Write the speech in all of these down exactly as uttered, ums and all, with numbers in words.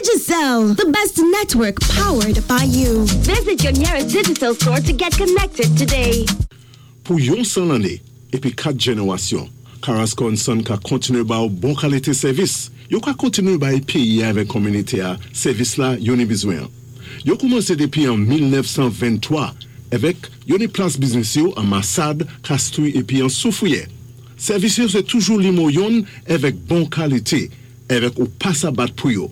Digicel, the best network powered by you. Visit your nearest Digicel store to get connected today. Pou yon san lanné épi kat jénéwasyon, Carrasco and Son ka kontiné ba ou bon kalité sèvis. Yo ka kontiné bay péyi avèk kominité-a sèvis la yo ni bizwen. Yo koumansé dépi an mil nèf san venntwa avèk yo ni plas biznis yo an Massade, Castries épi an Soufrière. Sèvis yo sé toujou nimewo youn avèk bon kalité, avèk ou pa sa bat pou yo.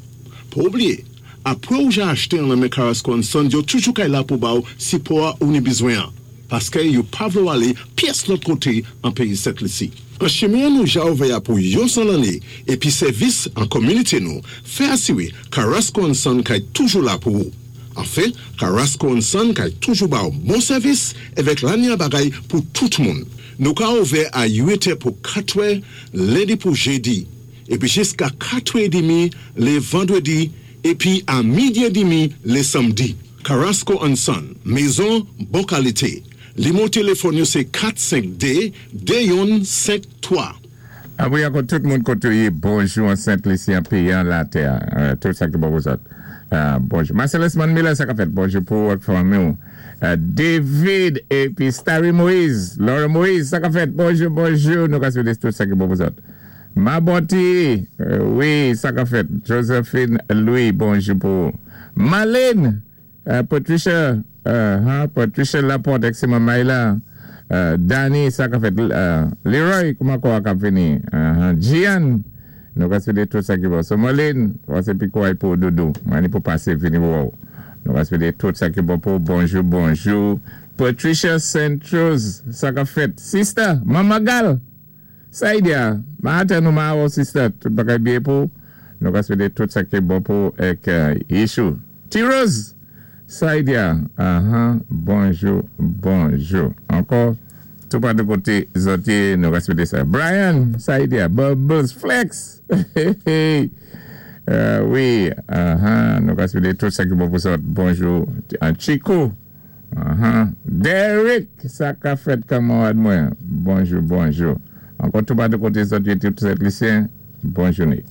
Pa oubliyé, apwé ou ja achté an nan men Carrasco and Son, yo toujou kay la pou ba ou sipò ou ni bizwen an. Paské yo pa vlé ou alé pyès lòt koté an péyi Sent Lisi. An chimen nou ja ouvè pou yon san lanné épi sèvis an kominité nou, fè asiwé Carrasco and Son kay toujou la pou ou. Anfen, Carrasco and Son kay toujou ba ou bon sèvis avèk lanya bagay pou tout moun. Nou ka ouvè a uit è pou katwè, lendi pou jédi, épi jiska katwè édmi lé vandwédi, épi a midi édmi lé sanmdi. Carrasco and Son, mézon bon kalité. Nimewo téléfòn yo sé kat senk dé de youn senk twa. Ah wi, ankò tout moun koté ou yé, bonjou an Sent Lisi, an péyi, an latè, euh, tout sa ki bon pou zòt. Euh, bonjou. Marcellus Miller, sa ka fèt, bonjou pou ak fanmi ou. Euh, David épi Starry Moïse, Laura Moïse, sa ka fèt, bonjou, bonjou, nou ka swété tout sa ki bon pou zòt. Maboti, euh, wi, sa ka fèt. Josephine Louis, bonjou pou. Marlène, euh, Patricia, euh, hein, Patricia Laporte, ek sé Maïla, euh, Danny, sa ka fèt, euh, Leroy, kouman kwa kap vini, uh, Gian, nou ka swété tout sa ki bon. So Marlène, wè pi kwa pou doudou, mani pou pasé vini wou. Nou ka swété tout sa ki bon pou, bonjou, bonjou. Patricia Saint Rose, sa ka fèt. Sister, Mama Gal, Saidia, ma ate nou ma wou sister, tout bagay byen pou. Nou ka swété tout sa ki bon pou ek uh, Yeshua. T-Rose, Saidia, uh-huh, bonjou, bonjou. Ankò, tout pa de koté zòt yé, nou ka swété sa. Brian, Saidia, Bubbles, Flex, hey, hey. Euh, wi, uh-huh, nou ka swété tout sa ki bon pou zòt. Bonjou. An Chico, uh-huh. Derek, sa ka fèt kanmarad mwen. Bonjou, bonjou. Ankò tout pa de koté zòt yé, tout Sent Lisyen, bon jouné.